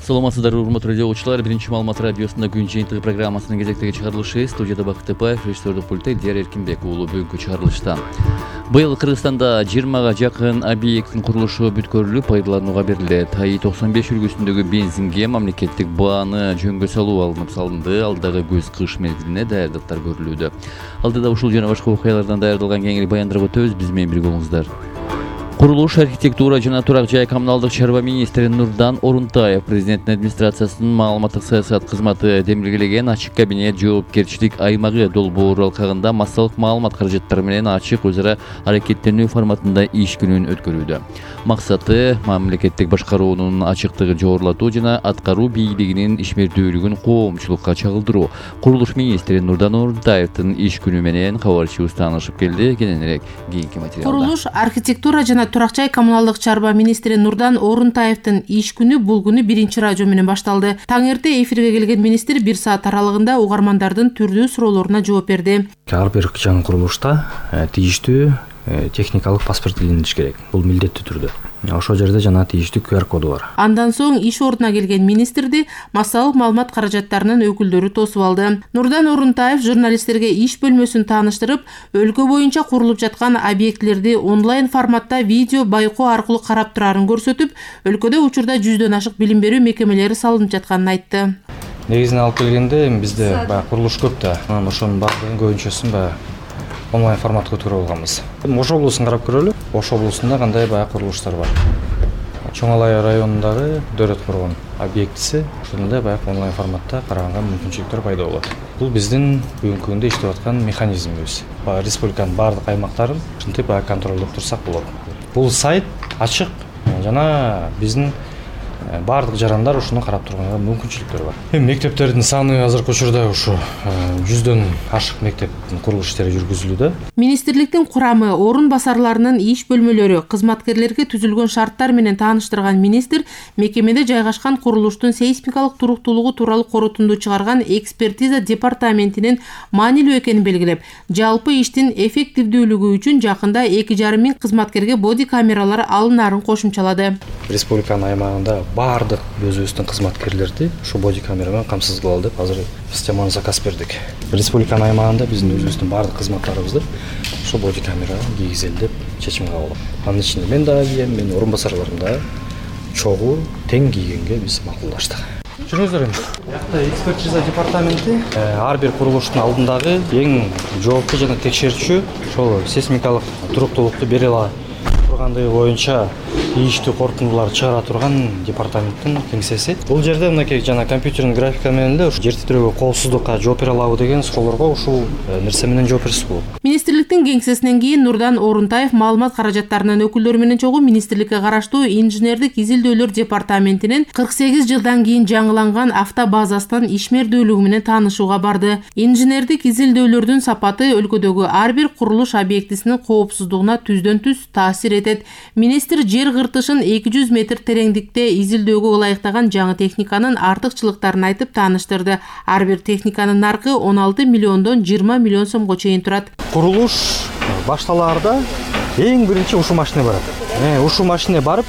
Саламатсыздар, урматтуу радио окуучулар. Биринчи маалымат радиосунда күн жыйынтыгы программасынын кезектеги чыгарылышы. Студияда Бакыт Эпаев, режиссердик пультта Дияр Эркинбек уулу. Бүгүнкү чыгарылышта быйыл Кыргызстанда 20га жакын объекттин курулушу бүткөрүлүп, пайдаланууга берилет. АИ-95 үлгүсүндөгү бензинге мамлекеттик бааны жөнгө салуу салынды. Алдагы көз кыш мезгилине даярдыктар көрүлүүдө. Алдыда ушул жана башка окуялардан даярдалган кеңири баяндырып өтөбүз. Биз менен бирге болуңуздар. Курулуш, архитектура жана турак жай коммуналдык чарба министри Нурдан Орунтаев президенттин администрациясынын маалыматтык саясат кызматы демилгелеген ачык кабинет жоопкерчилик аймагы долбоору алкагында массалык маалымат каражаттары менен ачык өз ара аракеттенүү форматында иш күнүн өткөрүүдө. Максаты мамлекеттик башкаруунун ачыктыгын жогорулатуу жана аткаруу бийлигинин ишмердүүлүгүн коомчулукка чагылдыруу. Курулуш министри Нурдан Орунтаевдин иш күнү менен кабарчыбыз таанышып келди. Кененирээк кийинки материалда. Курулуш, архитектура жана турак жай коммуналдык чарба министри Нурдан Орунтаевдин иш күнү бул күнү биринчи радио менен башталды. Таң эрте эфирге келген министр 1 саат аралыгында угармандардын түрдүү суроолоруна жооп берди. Ар бир жаңы курулушта тийиштүү техникалык паспорт илиниш керек. Бул милдеттүү түрдө. Ошол жерде жана тийиштүү QR коду бар. Андан соң иш ордуна келген министрди массалык маалымат каражаттарынын өкүлдөрү тосуп алды. Нурдан Орунтаев журналисттерге иш бөлмөсүн тааныштырып, өлкө боюнча курулуп жаткан объектилерди онлайн форматта видео байкоо аркылуу карап турарын көрсөтүп, өлкөдө учурда 100дөн ашык билим берүү мекемелери салынып жатканын айтты. Негизинен алып келгенде бизде курулуш көп да. Анан ошонун баардыгын көбүнчөсүн онлайн форматка өткөрүп алганбыз. Ош облусун карап көрөлү. Ош облусунда кандай курулуштар бар. Чоң Алай районундагы Дөрөт коргон объектиси ушундай онлайн форматта караганга мүмкүнчүлүктөр пайда болот. Бул биздин бүгүнкү күндө иштеп аткан механизмибиз. Республиканын баардык аймактарын ушинтип контролдоп турсак болот. Бул сайт ачык жана биздин баардык жарандар ушуну карап турганга мүмкүнчүлүктөр бар. Мектептердин саны азыркы учурда ушу 100дөн ашык мектептин курулуш иштери жүргүзүлүүдө. Министрликтин курамы, орун басарларынын иш бөлмөлөрү, кызматкерлерге түзүлгөн шарттар менен тааныштырган министр мекемеде жайгашкан курулуштун сейсмикалык туруктуулугу тууралуу корутунду чыгарган экспертиза департаментинин маанилүү экенин белгилеп, жалпы иштин эффективдүүлүгү үчүн жакында 2,5 миң кызматкерге боди камералар алынаарын кошумчалады. Республиканын аймагында баардык өзүбүздүн кызматкерлерди ушу боди камера менен камсыз кылалы деп азыр системаны заказ бердик. Республиканын аймагында биздин өзүбүздүн баардык кызматтарыбызды ушу боди камера кийгизели деп чечим кабыл алдык. Анын ичинде мен дагы кийем, менин орун басарларым дагы чогуу тең кийгенге биз макулдаштык. Жүрүңүздөр эми. Бuyakta экспертиза департаменти ар бир курулуштун алдындагы эң жооптуу жана текшерүүчү ошол сейсмикалык туруктуулукту бере ала тургандыгы боюнча тийиштүү корутундуларды чыгара турган департаменттин кеңсеси. Бул жерде мынакей жана компьютердин графика менен эле жер титирөөгө коопсуздукка жооп бере алабы деген суроолорго ушул нерсе менен жооп берсе болот. Министрликтин кеңсесинен кийин Нурдан Орунтаев маалымат каражаттарынын өкүлдөрү менен чогуу министрликке караштуу инженердик изилдөөлөр департаментинин 48 жылдан кийин жаңыланган автобазасынын ишмердүүлүгү менен таанышууга барды. Инженердик изилдөөлөрдүн сапаты өлкөдөгү ар бир курулуш объектисинин коопсуздугуна түздөн түз таасир этет. Министр жер кыртышын 200 метр тереңдикте изилдөөгө ылайыктаган жаңы техниканын артыкчылыктарын айтып тааныштырды. Ар бир техниканын наркы 16 миллиондон 20 миллион сомго чейин турат. Курулуш башталаарда эң биринчи ушул машина барат. Ушул машина барып,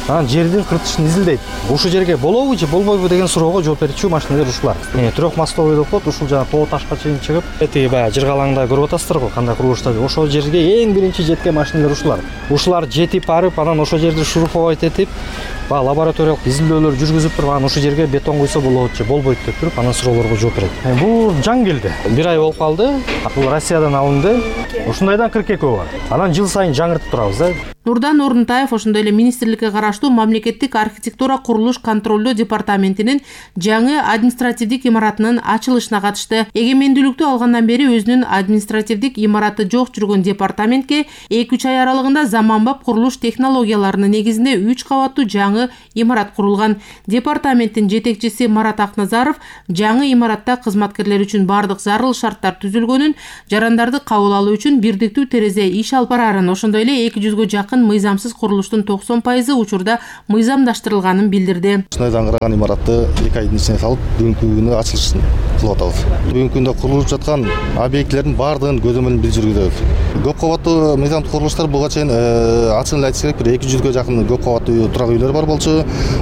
анан жердин кыртышын изилдейт. Ушул жерге болобу же болбойбу деген суроого жооп берүүчү машиналар ушулар. Трехмостовый деп коет, ушул жана тоо ташка чейин чыгып, тиги жыргалаңда көрүп атасыздар го, кандай курулуштар. Ошол жерге эң биринчи жеткен машиналар ушулар. Ушулар жетип барып, анан ошол жерди шуруповать этип, лабораториялык изилдөөлөр жүргүзүп туруп, анан ушул жерге бетон куйса болот же болбойт деп туруп, анан суроолорго жооп берет. Бул жаңы келди. 1 ай болуп калды. Бул Россиядан алынды. Ушундайдан 42 бар. Анан жыл сайын жаңыртып турабыз да. Нурдан Орунтаев ошондой эле министрликке караштуу мамлекеттик архитектура курулуш контролдоо департаментинин жаңы административдик имаратынын ачылышына катышты. Эгемендүүлүктү алгандан бери өзүнүн административдик имараты жок жүргөн департаментке 2-3 ай аралыгында заманбап курулуш технологияларынын негизинде 3 кабаттуу жаңы имарат курулган. Департаменттин жетекчиси Марат Акназаров жаңы имаратта кызматкерлер үчүн бардык зарыл шарттар түзүлгөнүн, жарандарды кабыл алуу үчүн бирдиктүү терезе иш алып барарын, ошондой эле 200гө жакын мыйзамсыз курулуштун 90% учурда мыйзамдаштырылганын билдирди. Ушундай даңгыраган имаратты 2 айдын ичинде салып, бүгүнкү күнү ачылышын кылып атабыз. Бүгүнкү күндө курулуп жаткан объектилердин баардыгын көзөмөлүн биз жүргүзөбүз. Көп кабаттуу мыйзамдык курулуштар буга чейин ачыгын эле айтыш керек, бир 200га жакын көп кабаттуу турак үйлөр бар болчу.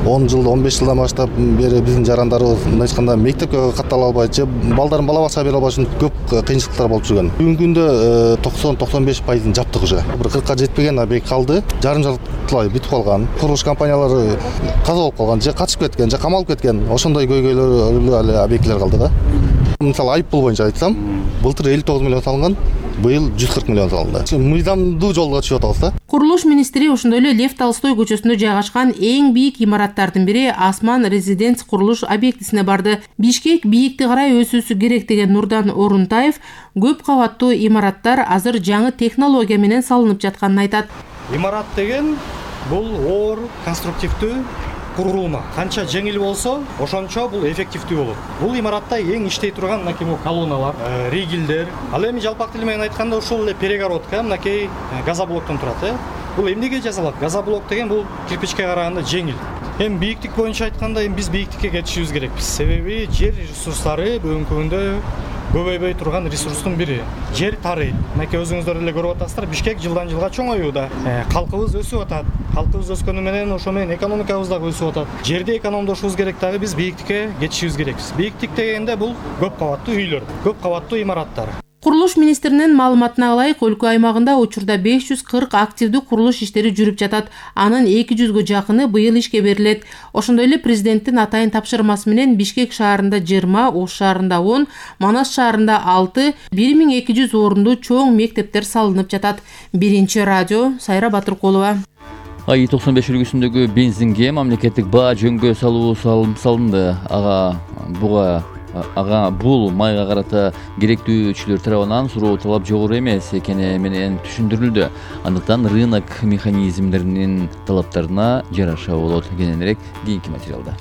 10 жыл, 15 жылдан баштап бери биздин жарандарыбыз мындай айтканда мектепке каттала албай же балдарын бала бакчага бере албаш үчүн көп кыйынчылыктар болуп жүргөн. Бүгүнкү күндө 90-95% жаптык уже. Бир 40ка жетпеген объект калды. Жарым жартылай бүтүп калган. Курулуш компаниялары каза болуп калган, же качып кеткен, же камалып кеткен. Ошондой көйгөйлөр эле объектилер калды да. Мисалы айыппул боюнча айтсам, былтыр 59 миллион салынган, быйыл 140 миллион салынды. Мыйзамдуу жолго чыгып атабыз да. Курулуш министри ошондой эле Лев Толстой көчөсүндө жайгашкан эң бийик имараттардын бири Асман резиденс курулуш объектисине барды. Бишкек бийикти карай өсүүсү керек деген Нурдан Орунтаев көп кабаттуу имараттар азыр жаңы технология менен салынып жатканын айтат. Имарат деген бул оор, конструктивдүү курулма. Канча жеңил болсо, ошончо бул эффективдүү болот. Бул имаратта эң иштей турган мынакей колонналар, ригелдер. Ал эми жалпак тил менен айтканда ушул эле перегородка, мынакей газоблоктон турат. Бул эмнеге жасалат? Газоблок деген бул кирпичке караганда жеңил. Эми бийиктик боюнча айтканда, біз бийиктикке кетишибиз керекпиз. Себеби жер ресурстары бүгүнкү күндө көбөйбөй турган ресурстун бири. Жер тарыйт. Мынакей өзүңүздөр эле көрүп атасыздар, Бишкек жылдан жылга чоңоюуда. Калкыбыз өсүп атат. Калкыбыз өскөнү менен ошо менен экономикабыз дагы өсүп атат. Жерди экономдошубуз керек дагы, биз бийиктикке кетишибиз керекпиз. Бийиктик дегенде бул көп кабаттуу үйлөр, көп кабаттуу имараттар. Курулуш министринин маалыматына ылайык, өлкө аймагында учурда 540 активдүү курулуш иштери жүрүп жатат. Анын 200га жакыны быйыл ишке берилет. Ошондой эле президенттин атайын тапшырмасы менен Бишкек шаарында 20, Ош шаарында 10, Манас шаарында 6, 1200 орундуу чоң мектептер салынып жатат. Биринчи радио, Сайра Батыркулова. АИ 95 үлгүсүндөгү бензинге мамлекеттик баа жөнгө салуу салынды. Ага бул майга карата керектүүчүлөр тарабынан суроо талап жогору эмес экени менен түшүндүрүлдү. Андыктан рынок механизмдеринин талаптарына жараша болот. Кененирээк кийинки материалда.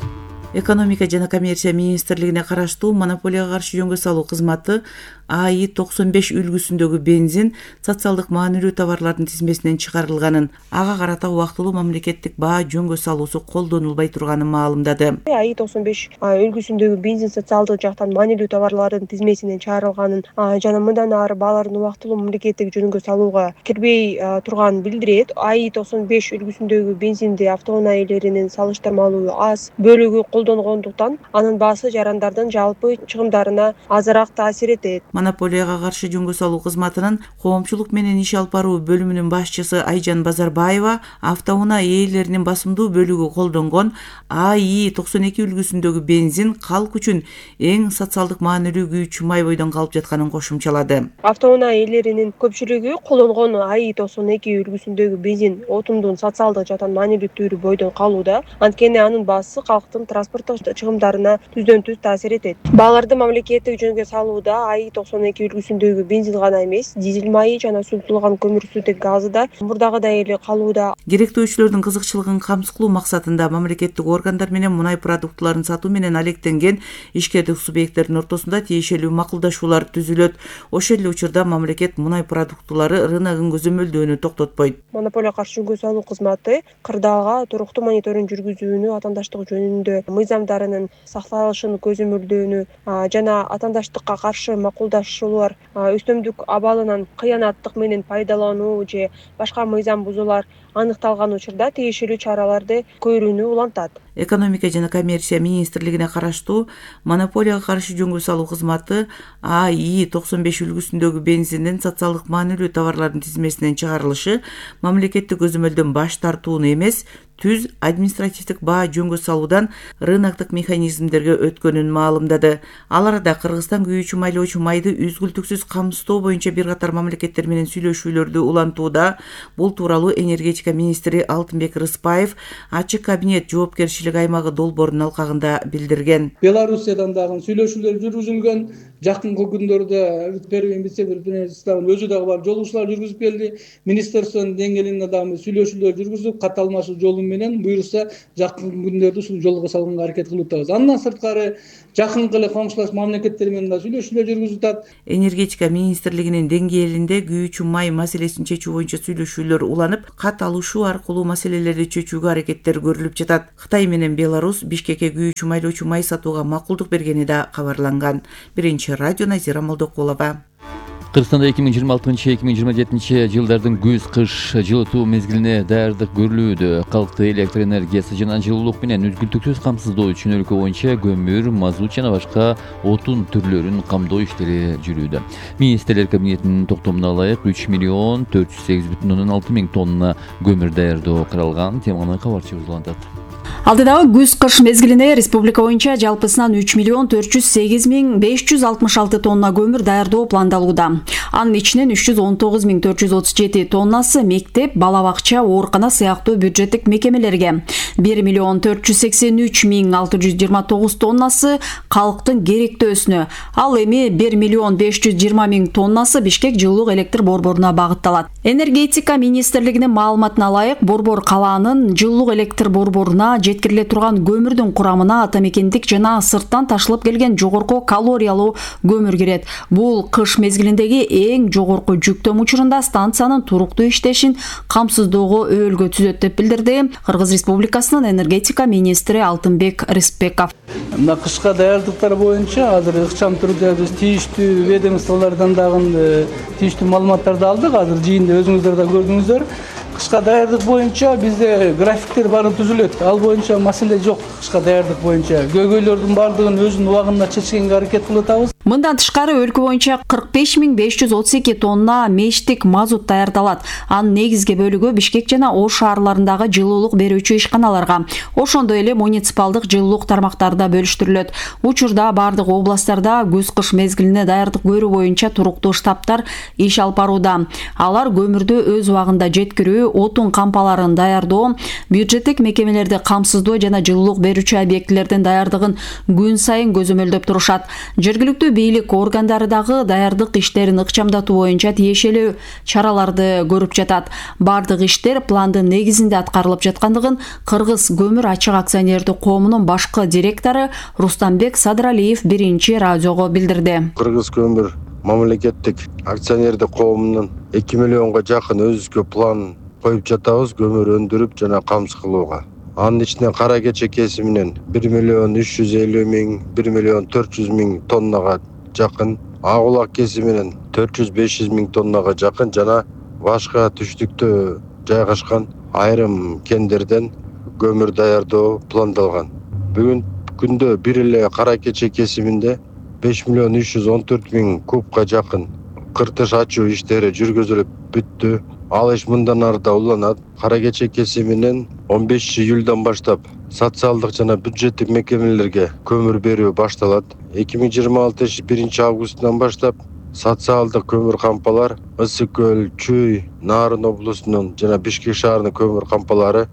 Экономика жана коммерция министрлигине караштуу монополияга каршы жөнгө салуу кызматы АИ 95 үлгүсүндөгү бензин социалдык маанилүү товарлардын тизмесинен чыгарылганын, ага карата убактылуу мамлекеттик баа жөнгө салуусу колдонулбай турганын маалымдады. АИ 95 үлгүсүндөгү бензин социалдык жактан маанилүү товарлардын тизмесинен чыгарылганын жана мындан ары баалардын убактылуу мамлекеттик жөнгө салууга кирбей турганын билдирет. АИ 95 үлгүсүндөгү бензинди автоунаа ээлеринин салыштырмалуу аз бөлүгү колдонгондуктан анын баасы жарандардын жалпы чыгымдарына азыраак таасир этет. Монополияга каршы жөнгө салуу кызматынын коомчулук менен иш алып баруу бөлүмүнүн башчысы Айжан Базарбаева автоунаа ээлеринин басымдуу бөлүгү колдонгон АИ 92 үлгүсүндөгү бензин калк үчүн эң социалдык маанилүү күйүүчү май бойдон калып жатканын кошумчалады. Автоунаа ээлеринин көпчүлүгү колдонгон АИ 92 үлгүсүндөгү бензин отундун социалдык жактан маанилүү түрү бойдон калууда. Анткени анын баасы калктын транспорттук чыгымдарына түздөн-түз таасир этет. Бааларды мамлекеттик жөнгө салууда АИ 92 үлгүсүндөгү бензин гана эмес, дизель майы жана суутулган көмүрсүтүк газы да мурдагыдай эле калууда. Керектөөчүлөрдүн кызыкчылыгын камсыздоо максатында мамлекеттик органдар менен мунай продуктуларын сатуу менен алектенген ишкердик субъекттердин ортосунда тиешелүү макулдашуулар түзүлөт. Ошол эле учурда мамлекет мунай продуктулары рыногун көзөмөлдөөнү токтотпойт. Монополия каршы жөнгө салуу кызматы кырдаалга туруктуу мониторинг жүргүзүүнү, атаандаштык жөнүндө мыйзамдарынын сакталышын көзөмөлдөөнү жана атаандаштыкка каршы макулдашуулар, өстөмдүк абалынан кыянаттык менен пайдалануу же башка мыйзам бузуулар аныкталган учурда тиешелүү чараларды көрүүнү улантат. Экономика жана коммерция министрлигине караштуу монополияга каршы жөнгө салуу кызматы АИ 95 үлгүсүндөгү бензиндин социалдык маанилүү товарлардын тизмесинен чыгарылышы мамлекеттик көзөмөлдөн баш тартууну эмес, түз административдик баа жөнгө салуудан рыноктук механизмдерге өткөнүн маалымдады. Ал арада Кыргызстан күйүүчү майлоочу майды үзгүлтүксүз камсыздоо боюнча бир катар мамлекеттер менен сүйлөшүүлөрдү улантууда. Бул тууралуу энергетика министри Алтынбек Рыспаев ачык кабинет жоопкерчилик аймагы долбоорунун алкагында билдирген. Белоруссиядан дагы сүйлөшүүлөр жүргүзүлгөн, жакынкы күндөрдө первый вице-премьер өзү дагы барып жолугушуулар жүргүзүп келди. Министрликтин деңгээлинде дагы сүйлөшүүлөр жүргүзүп, кат алмашуу жолу менен буюрса жакынкы күндөрдө ушул жолго салганга аракет кылып атабыз. Андан сырткары жакынкы эле коңшулаш мамлекеттер менен да сүйлөшүүлөр жүргүзүп атат. Энергетика министрлигинин деңгээлинде күйүүчү май маселесин чечүү боюнча сүйлөшүүлөр уланып, кат алышуу аркылуу маселелерди чечүүгө аракеттер көрүлүп жатат. Кытай менен Беларусь Бишкекке күйүүчү майлоочу май сатууга макулдук бергени да кабарланган. Биринчи радио Назира Молдокулова. Кыргызстанда 2026-2027 жылдардын күз-кыш жылытуу мезгилине даярдык көрүлүүдө. Калкты электр энергиясы жана жылуулук менен үзгүлтүксүз камсыздоо үчүн өлкө боюнча көмүр, мазут жана башка отун түрлөрүн камдоо иштери жүрүүдө. Министрлер кабинетинин токтомуна ылайык 3,408,6 тонна көмүр даярдоо каралган. Теманы кабарчыбыз улантат. Алдыдагы күз-кыш мезгилине республика боюнча жалпысынан 3,408,566 тонна көмүр даярдоо пландалууда. Анын ичинен 319,437 тоннасы мектеп, бала бакча, оорукана сыяктуу бюджеттик мекемелерге, 1,483,629 тоннасы калктын керектөөсүнө, ал эми 1,520,000 тоннасы Бишкек жылуулук электр борборуна багытталат. Энергетика министрлигинин маалыматына ылайык, борбор калаанын жылуулук электр борборуна жеткириле турган көмүрдүн курамына атамекендик жана сырттан ташылып келген жогорку калориялуу көмүр кирет. Бул кыш мезгилиндеги эң жогорку жүктөм учурунда станциянын туруктуу иштешин камсыздоого өөлгө түзөт деп билдирди Кыргыз Республикасынын энергетика министри Алтынбек Рыспеков. Мына кышка даярдыктар боюнча азыр ыкчам түрдө биз тийиштүү ведомстволордон дагы тийиштүү маалыматтарды алдык. Азыр жыйында өзүңүздөр да көрдүңүздөр. Кышка даярдык боюнча бизде графиктер баары түзүлөт. Ал боюнча маселе жок. Кышка даярдык боюнча көйгөйлөрдүн баардыгын өзүнүн убагында чечкенге аракет кылып атабыз. Мындан тышкары өлкө боюнча 45,532 тонна мештик мазут даярдалат. Анын негизги бөлүгү Бишкек жана Ош шаарларындагы жылуулук берүүчү ишканаларга, ошондой эле муниципалдык жылуулук тармактарда бөлүштүрүлөт. Учурда бардык областтарда күз-кыш мезгилине даярдык көрүү боюнча туруктуу штабтар иш алып барууда. Алар көмүрдү өз убагында жеткирүү, отун кампаларын даярдоо, бюджеттик мекемелерди камсыздоо жана жылуулук берүүчү объектилердин даярдыгын күн сайын көзөмөлдөп турушат. Жергиликтүү бийлик органдары дагы даярдык иштерин ыкчамдатуу боюнча тиешелүү чараларды көрүп жатат. Бардык иштер пландын негизинде аткарылып жаткандыгын Кыргыз көмүр ачык акционердик коомунун башкы директору Рустамбек Садралиев биринчи радиого билдирди. Кыргыз көмүр мамлекеттик акционердик коомунун 2 миллионго жакын өзгө план коюп жатабыз көмүр өндүрүп жана камсыз кылууга. Анын ичинен кара кече кесиминен 1,350,000, 1,400,000 тоннага жакын, ак улак кесиминен 400-500,000 тоннага жакын жана башка түштүктө жайгашкан айрым кендерден көмүр даярдоо пландалган. Бүгүн күндө бир эле кара кече кесиминде 5,314,000 кубка жакын кыртыш ачуу иштери жүргүзүлүп бүттү. Ал иш мындан ары да уланат. Кара кече кесиминен 15 июлдан баштап социалдык жана бюджеттик мекемелерге көмүр берүү башталат. 2026 1 августтан баштап социалдык көмүр кампалар Ысык көл, Чүй, Нарын облусунун жана Бишкек шаарынын көмүр кампалары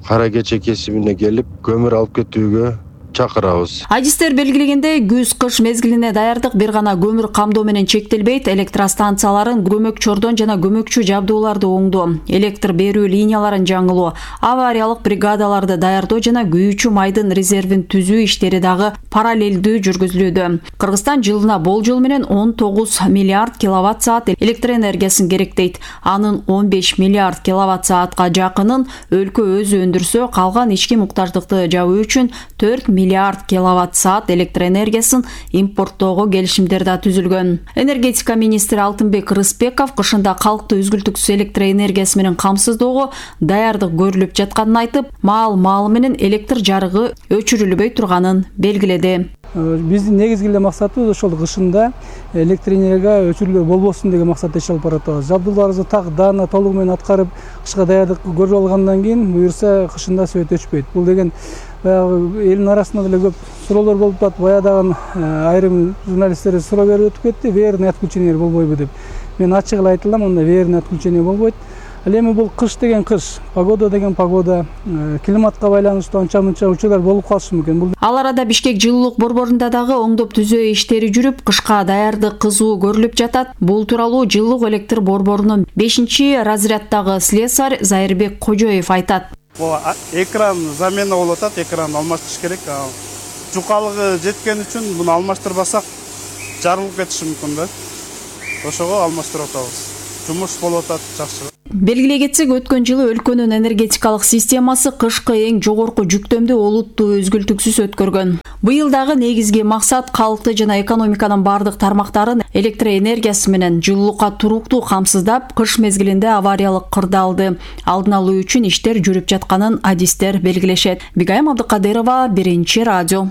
кара кече кесимине келип көмүр алып кетүүгө чакырабыз. Адистер белгилегендей, күз-кыш мезгилине даярдык бир гана көмүр камдоо менен чектелбейт. Электростанцияларын көмөкчөрдөн жана көмөкчү жабдууларды оңдоо, электр берүү линияларын жаңылоо, авариялык бригадаларды даярдоо жана күйүүчү майдын резервин түзүү иштери дагы параллелдүү жүргүзүлүүдө. Кыргызстан жылына болжол менен 19 миллиард киловатт-саат электр энергиясын керектейт. Анын 15 миллиард киловатт-саатка жакынын өлкө өзү өндүрсө, калган ички муктаждыкты жабуу үчүн 4 миллиард киловатт-саат электр энергиясын импорттоого келишимдер да түзүлгөн. Энергетика министри Алтынбек Рыспеков кышында калкты үзгүлтүксүз электр энергиясы менен камсыздоого даярдык көрүлүп жатканын айтып, маал менен электр жарыгы өчүрүлбөй турганын белгиледи. Биздин негизги эле максатыбыз ошол кышында электр энергия өчүрүүлөр болбосун деген максатта иш алып баратабыз. Жабдууларыбызды так даана толугу менен аткарып, кышка даярдык көрүп алгандан кийин буюрса кышында сөйт өчпөйт. Бул деген элдин арасында деле көп суроолор болуп атат. Баягыдагы айрым журналисттер суроо берип өтүп кетти, верный отключение болбойбу деп. Мен ачык эле айта алам, анда верный отключение болбойт. Ал эми бул кыш деген кыш, погода деген погода, климатка байланыштуу анча мынча учурлар болуп калышы мүмкүн. Ал арада Бишкек жылуулук борборунда дагы оңдоп түзөө иштери жүрүп, кышка даярдык кызуу көрүлүп жатат. Бул тууралуу жылуулук электр борборунун 5-разряддагы слесарь Зайырбек Кожоев айтат. Экран замена болуп атат, экран алмаштырыш керек. Жукалыгы жеткен үчүн буну алмаштырбасак жарылып кетиши мүмкүн да. Ошого алмаштырып атабыз. Жумуш болуп атат жакшы. Белгилей кетсек, өткөн жылы өлкөнүн энергетикалык системасы кышкы эң жогорку жүктөмдү олуттуу өзгүлтүксүз өткөргөн. Быйыл дагы негизги максат калкты жана экономиканын бардык тармактарын электр энергиясы менен жылуулукка туруктуу камсыздап, кыш мезгилинде авариялык кырдаалды алдын алуу үчүн иштер жүрүп жатканын адистер белгилешет. Бигайым Абдыкадырова, Биринчи радио.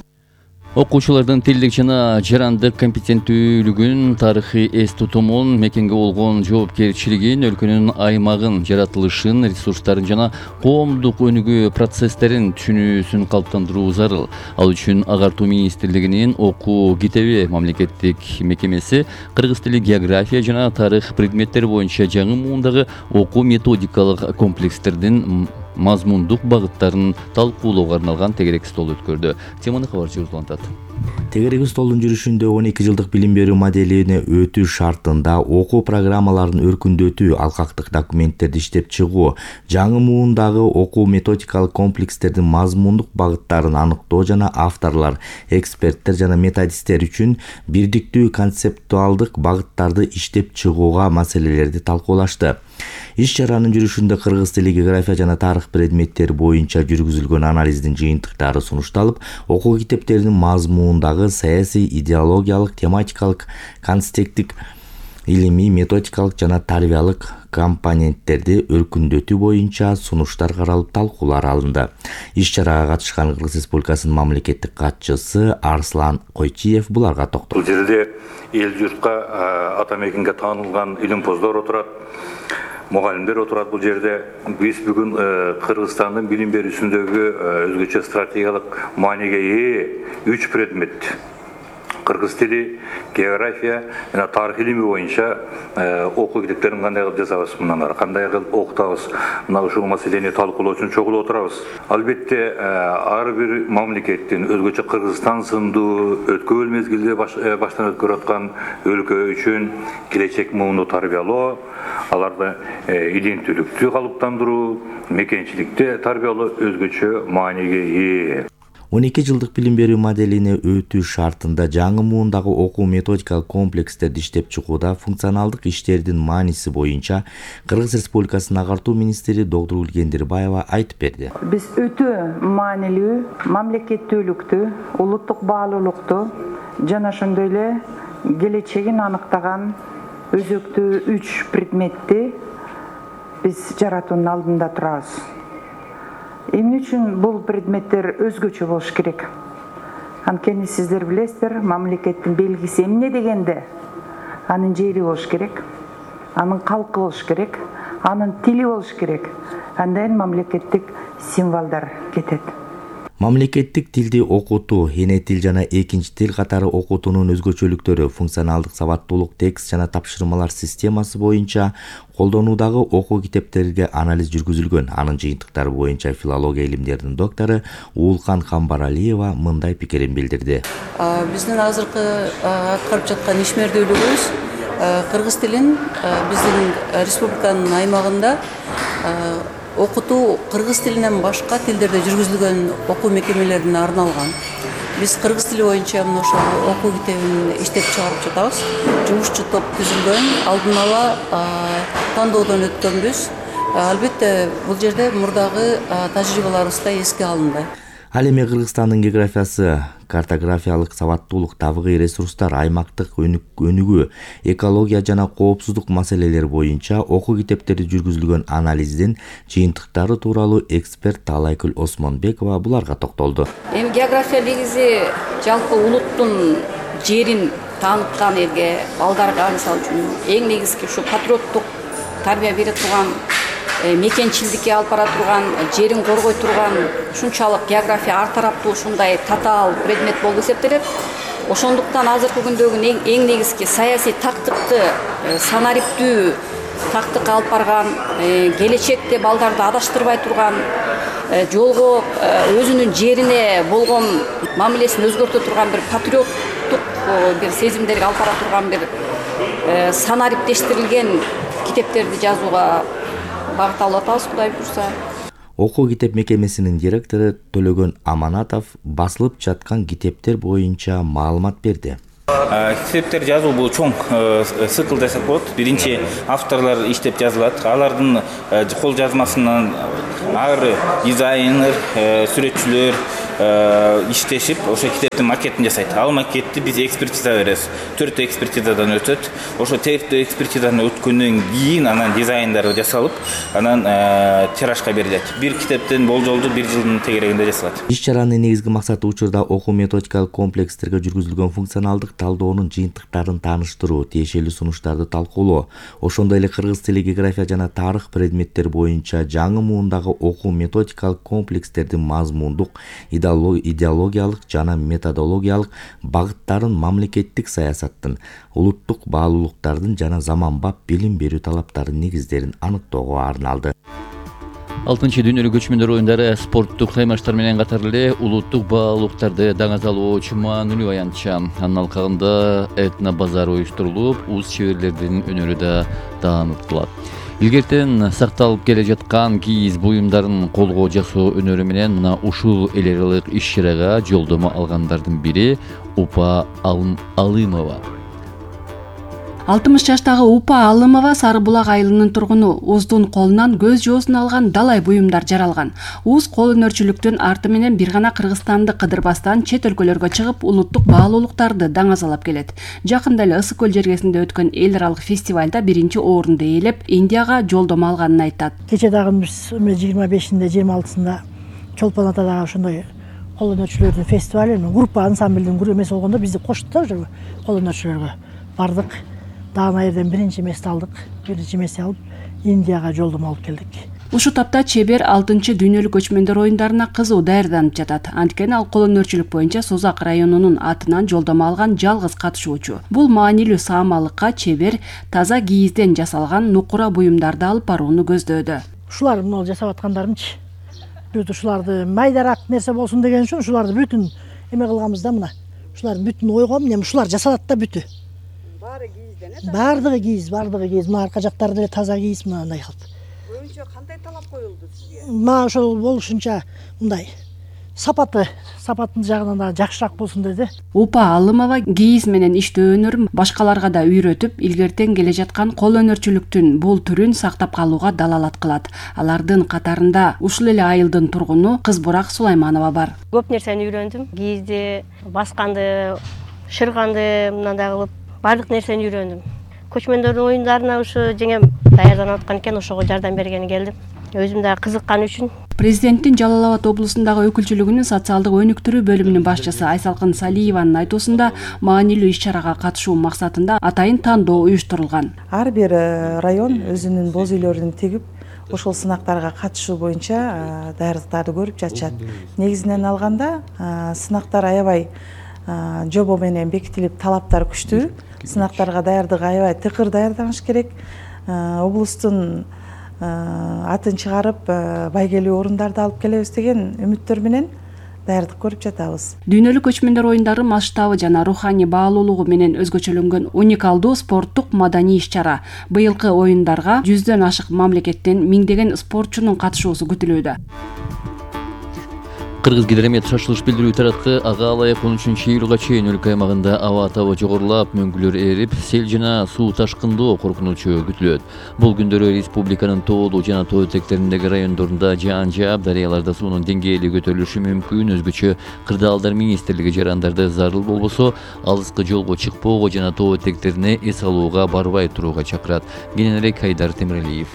Окуучулардын тилдик жана жарандык компетенттүүлүгүн, тарыхый эс тутумун, мекенге болгон жоопкерчилигин, өлкөнүн аймагын, жаратылышын, ресурстарын жана коомдук өнүгүү процесстерин түшүнүүсүн калыптандыруу зарыл. Ал үчүн Агартуу министрлигинин окуу китеби мамлекеттик мекемеси кыргыз тили, география жана тарых предметтери боюнча жаңы муундагы окуу методикалык комплекстердин мазмундук багыттарын талкуулоого арналган тегерек стол өткөрдү. Теманы кабарчы улантат. Тегерек столдун жүрүшүндө 12 жылдык билим берүү моделине өтүү шартында окуу программаларын өркүндөтүү, алкактык документтерди иштеп чыгуу, жаңы муундагы окуу методикалык комплекстердин мазмундук багыттарын аныктоо жана авторлор, эксперттер жана методисттер үчүн бирдиктүү концептуалдык багыттарды иштеп чыгууга маселелерди талкуулашты. Иш-чаранын жүрүшүндө кыргыз тили, география жана тарых предметтери боюнча жүргүзүлгөн анализдин жыйынтыктары сунушталып, окуу китептеринин мазмундагы саясий, идеологиялык, тематикалык, контекстик, илимий, методикалык жана тарбиялык компоненттерди өркүндөтүү боюнча сунуштар каралып, талкуулар алынды. Иш-чарага катышкан Кыргыз Республикасынын мамлекеттик катчысы Арслан Койчиев буларга токтолду. Бул жерде эл журтка, ата мекенге таанылган илимпоздор отурат, мугалимдер отурат. Бул жерде биз бүгүн Кыргызстандын билим берүүсүндөгү өзгөчө стратегиялык мааниге ээ 3 предмет: кыргыз тили, география жана тарых илими боюнча окуу китептерин кандай кылып жасабыз, мындан ары кандай кылып окутабыз, мына ушул маселени талкуулоо үчүн чогулуп отурабыз. Албетте ар бир мамлекеттин өзгөчө Кыргызстан сындуу өткөн мезгилде баштан өткөрүп аткан өлкө үчүн келечек муунду тарбиялоо, аларды иденттүүлүктү калыптандыруу, мекенчиликти тарбиялоо өзгөчө мааниге ээ. 12 жылдык билим берүү моделине өтүү шартында жаңы муундагы окуу методикалык комплекстерди иштеп чыгууда функционалдык иштердин мааниси боюнча Кыргыз Республикасынын Агартуу министри доктор Гулгендирбаева айтып берди. Биз өтө маанилүү мамлекеттүүлүктү, улуттук баалуулукту жана ошондой эле келечегин аныктаган өзөктүү 3 предметти биз жаратуунун алдында турабыз. Эмне үчүн бул предметтер өзгөчө болуш керек? Анткени сиздер билесиздер, мамлекеттин белгиси эмне дегенде анын жери болуш керек, анын калкы болуш керек, анын тили болуш керек. Андан мамлекеттик символдор кетет. Мамлекеттик тилди окутуу, эне тил жана экинчи тил катары окутуунун өзгөчөлүктөрү, функционалдык сабаттуулук, текст жана тапшырмалар системасы боюнча колдонуудагы окуу китептерге анализ жүргүзүлгөн. Анын жыйынтыктары боюнча филология илимдеринин доктору Уулкан Камбаралиева мындай пикирин билдирди. Биздин азыркы аткарып жаткан ишмердүүлүгүбүз кыргыз тилин биздин республиканын аймагында окутуу кыргыз тилинен башка тилдерде жүргүзүлгөн окуу мекемелерине арналган. Биз кыргыз тили боюнча мына ошол окуу китебин иштеп чыгарып жатабыз. Жумушчу топ түзүлгөн, алдын ала тандоодон өткөнбүз. Албетте бул жерде мурдагы тажрыйбаларыбыз да эске алынды. Ал эми Кыргызстандын географиясы, картографиялык сабаттуулук, табигый ресурстар, аймактык өнүгүү, экология жана коопсуздук маселелери боюнча окуу китептерди жүргүзүлгөн анализдин жыйынтыктары тууралуу эксперт Таалайкүл Осмонбекова буларга токтолду. Эми география негизи жалпы улуттун жерин тааныткан элге, балдарга мисалы үчүн эң негизги ушу патриоттук тарбия бере турган, мекенчилдикке алып бара турган, жерин коргой турган ушунчалык география ар тараптуу ушундай татаал предмет болуп эсептелет. Ошондуктан азыркы күндөгү эң негизги саясий тактыкты, санариптүү тактыкка алып барган, келечекте балдарды адаштырбай турган, жолго өзүнүн жерине болгон мамилесин өзгөртө турган бир патриоттук бир сезимдерге алып бара турган бир санариптештирилген китептерди жазууга багыт алып атабыз, Кудай буйрса. Окуу китеп мекемесинин директору Төлөгөн Аманатов басылып жаткан китептер боюнча маалымат берди. Китептер жазуу бул чоң цикл десек болот. Биринчи авторлор иштеп жазылат. Алардын кол жазмасынан ары дизайнер, сүрөтчүлөр иштешип, ошо китептин макетин жасайт. Ал макетти биз экспертиза беребиз. 4 экспертизадан өтөт. Ошо 4 экспертизадан өткөндөн кийин анан дизайндары жасалып, анан тиражга берилет. Бир китептин болжолду 1 жылдын тегерегинде жасалат. Иш-чаранын негизги максаты учурда окуу методикалык комплекстерге жүргүзүлгөн функционалдык талдоонун жыйынтыктарын тааныштыруу, тиешелүү сунуштарды талкуулоо, ошондой эле кыргыз тили, география жана тарых предметтер боюнча жаңы муундагы окуу методикалык комплекстердин мазмундук, идеологиялык жана методологиялык багыттарын мамлекеттик саясаттын, улуттук баалуулуктардын жана заманбап билим берүү талаптарынын негиздерин аныктоого арналды. 6-чы дүйнөлүк көчмөндөр оюндары спорттук саймаштар менен катар эле улуттук баалуулуктарды даңазалоочу маанилүү аянтча. Анын алкагында этно базар уюштурулуп, уз чеберлердин өнөрү да таанытылат. Илгертен сакталып келе жаткан кийиз буюмдарын колго жасоо өнөрү менен мына ушул эл аралык иш-чарага жолдомо алгандардын бири Упа Алымова. 60 жаштагы Упа Алымова Сары Булак айылынын тургуну. Уздун колунан көз жоосун алган далай буюмдар жаралган. Уз кол өнөрчүлүктүн арты менен бир гана Кыргызстанды кыдырбастан чет өлкөлөргө чыгып, улуттук баалуулуктарды даңазалап келет. Жакында эле Ысык көл жергесинде өткөн эл аралык фестивалда 1-чи орунду ээлеп, Индияга жолдомо алганын айтат. Кече дагы биз 25-inde, 26-сында Чолпон Атадагы ошондой кол өнөрчүлөрдүн фестивали, группа ансамблдин эмеси болгондо бизди кошту да ошо кол өнөрчүлөргө. Бардык. Дагы жерден 1-чи месте алдык. 1-чи месте алып, Индияга жолдомо алып келдик. Ушу тапта чебер 6-чы дүйнөлүк көчмөндөр оюндарына кызуу даярданып жатат. Анткени ал кол өнөрчүлүк боюнча Созак районунун атынан жолдомо алган жалгыз катышуучу. Бул маанилүү саамалыкка чебер таза кийизден жасалган нукура буюмдарды алып барууну көздөөдө. Ушулар мына жасап аткандарымчы. Бүт ушуларды майдараак нерсе болсун деген үчүн ушуларды бүтүн эме кылганбыз да мына. Ушулардын бүтүн ойгом, эмне ушулар жасалат да бүтү. Бардыгы кийиз. Мына арка жактары деле таза кийиз мындай кылып. Көбүнчө кандай талап коюлду сизге? Мага ошол болушунча мындай сапатын жагынан да жакшыраак болсун деди. Упа Алымова кийиз менен иштөө өнөрүн башкаларга да үйрөтүп, илгертен келе жаткан кол өнөрчүлүктүн бул түрүн сактап калууга далалат кылат. Алардын катарында ушул эле айылдын тургуну Кызбурак Сулайманова бар. Көп нерсени үйрөндүм. Кийизди, басканды, шырганды мындай кылып бардык нерсени үйрөндүм. Көчмөндөрдүн оюндарына ушу жеңем даярданып аткан экен, ошого жардам бергени келдим. Өзүм да кызыккан үчүн. Президенттин Жалал Абад облусундагы өкүлчүлүгүнүн социалдык өнүктүрүү бөлүмүнүн башчысы Айсалкын Салиеванын айтуусунда маанилүү иш-чарага катышуу максатында атайын тандоо уюштурулган. Ар бир район өзүнүн боз үйлөрүн тигип, ошол сынактарга катышуу боюнча даярдыктарды көрүп жатышат. Негизинен алганда сынактар аябай жобо менен бекитилип, талаптар күчтүү. Сынактарга даярдык аябай тыкыр даярданыш керек. Облустун атын чыгарып, байгелүү орундарды алып келебиз деген үмүттөр менен даярдык көрүп жатабыз. Дүйнөлүк көчмөндөр оюндары масштабы жана руханий баалуулугу менен өзгөчөлөнгөн уникалдуу спорттук маданий иш-чара. Быйылкы оюндарга 100дөн ашык мамлекеттен миңдеген спортчунун катышуусу күтүлүүдө. Кыргыз Гидромет шашылыш билдирүү таратты. Ага алайык 13-июлга чейин өлкө аймагында аба табы жогорулап, мөңгүлөр эрип, сел жана суу ташкындоо коркунучу күтүлөт. Бул күндөрү республиканын тоолуу жана тоо этектериндеги райондорунда жаан жаап, дарыяларда суунун деңгээли көтөрүлүшү мүмкүн. Өзгөчө Кырдаалдар министрлиги жарандарды зарыл болбосо, алыскы жолго чыкпоого жана тоо этектерине эс алууга барбай турууга чакырат. Кененирээк Айдар Темиралиев.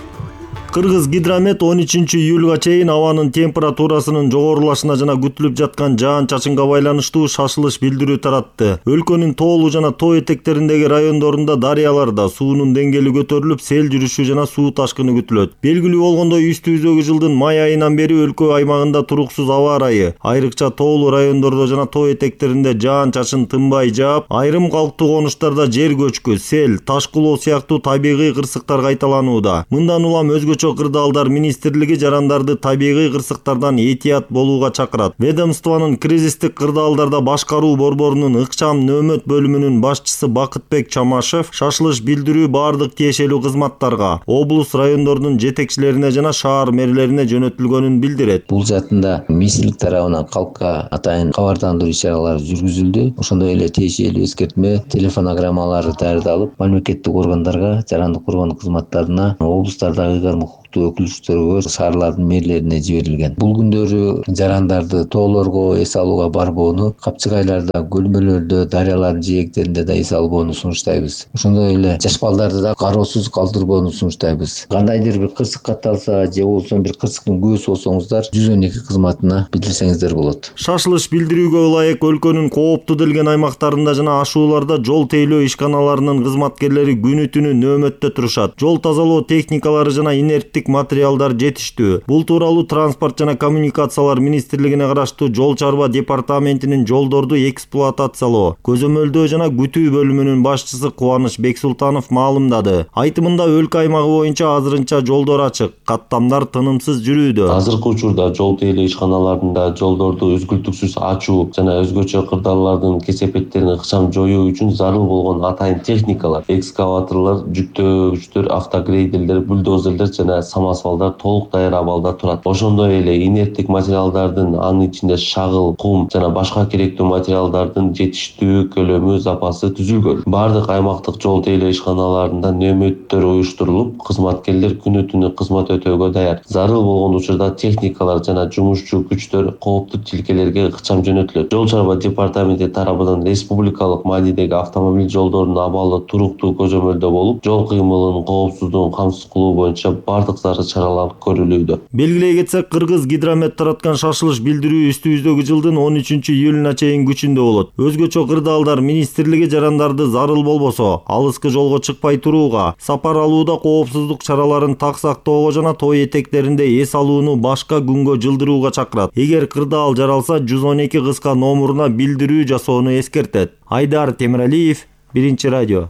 Кыргыз гидромет 13 июлга чейин абанын температурасынын жогорулашына жана күтүлүп жаткан жаан-чачынга байланыштуу шашылыш билдирүү таратты. Өлкөнүн тоолуу жана тоо этектериндеги райондорунда дарыяларда суунун деңгээли көтөрүлүп, сел жүрүшү жана суу ташкыны күтүлөт. Белгилүү болгондой, үстүбүздөгү жылдын май айынан бери өлкө аймагында туруксуз аба ырайы, айрыкча тоолуу райондордо жана тоо этектеринде жаан-чачын тынбай жаап, айрым калктуу конуштарда жер көчкү, сел, ташкылоо сыяктуу табигый кырсыктар кайталанууда. Мындан улам Өзгөчө кырдаалдар министрлиги жарандарды табигый кырсыктардан этият болууга чакырат. Ведомствонун кризистик кырдаалдарда башкаруу борборунун ыкчам нөөмөт бөлүмүнүн башчысы Бакытбек Чамашев шашылыш билдирүү бардык тиешелүү кызматтарга, облус райондордун жетекчилерине жана шаар мэрлерине жөнөтүлгөнүн билдирет. Бул затында министрлик тарабынан калкка атайын кабардандыруу иш-чаралары жүргүзүлдү. Ошондой эле тиешелүү эскертме телефонограммалары даярдалып, мамлекеттик органдарга, жарандык коргонуу кызматтарына, облустардагы укуктуу өкүлчүлөргө, шаарлардын мэрлерине жиберилген. Бул күндөрү жарандарды тоолорго эс алууга барбоону, капчыгайларда, көлмөлөрдө, дарыялардын жээктеринде да эс албоону сунуштайбыз. Ошондой эле жаш балдарды да кароосуз калтырбоону сунуштайбыз. Кандайдыр бир кырсык катталса же болбосо бир кырсыктын күбөсү болсоңуздар 112 кызматына билдирсеңиздер болот. Шашылыш билдирүүгө ылайык өлкөнүн кооптуу делген аймактарында жана ашууларда жол тейлөө ишканаларынын кызматкерлери күнү түнү нөөмөттө турушат. Жол тазалоо техникалары жана инерттик материалдар жетиштүү. Бул тууралуу Транспорт жана коммуникациялар министрлигине караштуу Жол чарба департаментинин жолдорду эксплуатациялоо, көзөмөлдөө жана күтүү бөлүмүнүн башчысы Кубаныч Бексултанов маалымдады. Айтымында өлкө аймагы боюнча азырынча жолдор ачык, каттамдар тынымсыз жүрүүдө. Азыркы учурда жол тейлөө ишканаларында жолдорду үзгүлтүксүз ачуу жана өзгөчө кырдаалдардын кесепеттерин ыкчам жоюу үчүн зарыл болгон атайын техникалар, экскаваторлор, жүктөөгүчтөр, автогрейдерлер, бульдозерлер жана самосвалдар толук даяр абалда турат. Ошондой эле инерттик материалдардын, анын ичинде шагыл, кум жана башка керектүү материалдардын жетиштүү көлөмү, запасы түзүлгөн. Бардык аймактык жол тейлөө ишканаларында нөөмөттөр уюштурулуп, кызматкерлер күнү түнү кызмат өтөөгө даяр. Зарыл болгон учурда техникалар жана жумушчу күчтөр кооптуу тилкелерге ыкчам жөнөтүлөт. Жол чарба департаменти тарабынан республикалык маанидеги автомобиль жолдорунун абалы туруктуу көзөмөлдө болуп, жол кыймылынын коопсуздугун камсыз кылуу боюнча бардык зарыл чаралар көрүлүүдө. Белгилей кетсек, Кыргыз гидромет тараткан шашылыш билдирүү үстүбүздөгү жылдын 13 июлуна чейин күчүндө болот. Өзгөчө кырдаалдар министрлиги жарандарды зарыл болбосо, алыскы жолго чыкпай турууга, сапар алууда коопсуздук чараларын так сактоого жана тоо этектеринде эс алууну башка күнгө жылдырууга чакырат. Эгер кырдаал жаралса, 112 кыска номуруна билдирүү жасоону эскертет. Айдар Темиралиев, Биринчи радио.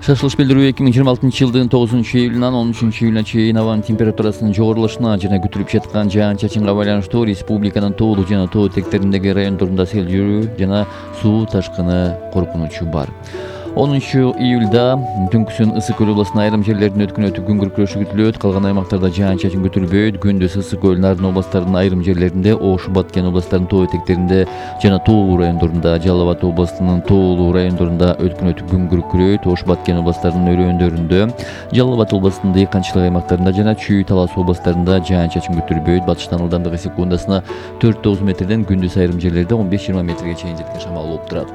Шашылыш билдирүү 2026 жылдын 9 июлунан 13 июлуна чейин абанын температурасынын жогорулашына жана күтүлүп жаткан жаан-чачынга байланыштуу республиканын тоолуу жана тоо этектериндеги райондорунда сел жүрүү жана суу ташкыны коркунучу бар. 10 июлда түнкүсүн Ысык көл областынын айрым жерлеринде өткөн күн күркүрөшү күтүлөт. Калган аймактарда жаан-чачын күтүлбөйт. Күндүз Ысык көл Нарын областарынын айрым жерлеринде, Ош, Баткен областарынын тоо этектеринде жана тоолуу райондорунда, Жалал Абад областынын тоолуу райондорунда өткөн күн күркүрөйт. Ош, Баткен областарынын өрөөндөрүндө, Жалал Абад областынын дыйканчылык аймактарында жана Чүй, Талас областарында жаан-чачын күтүлбөйт. Батыштан ылдамдыгы секундасына 4-9 метрден, күндүз айрым жерлерде 15-20 метрге чейин жеткен шамал болуп турат.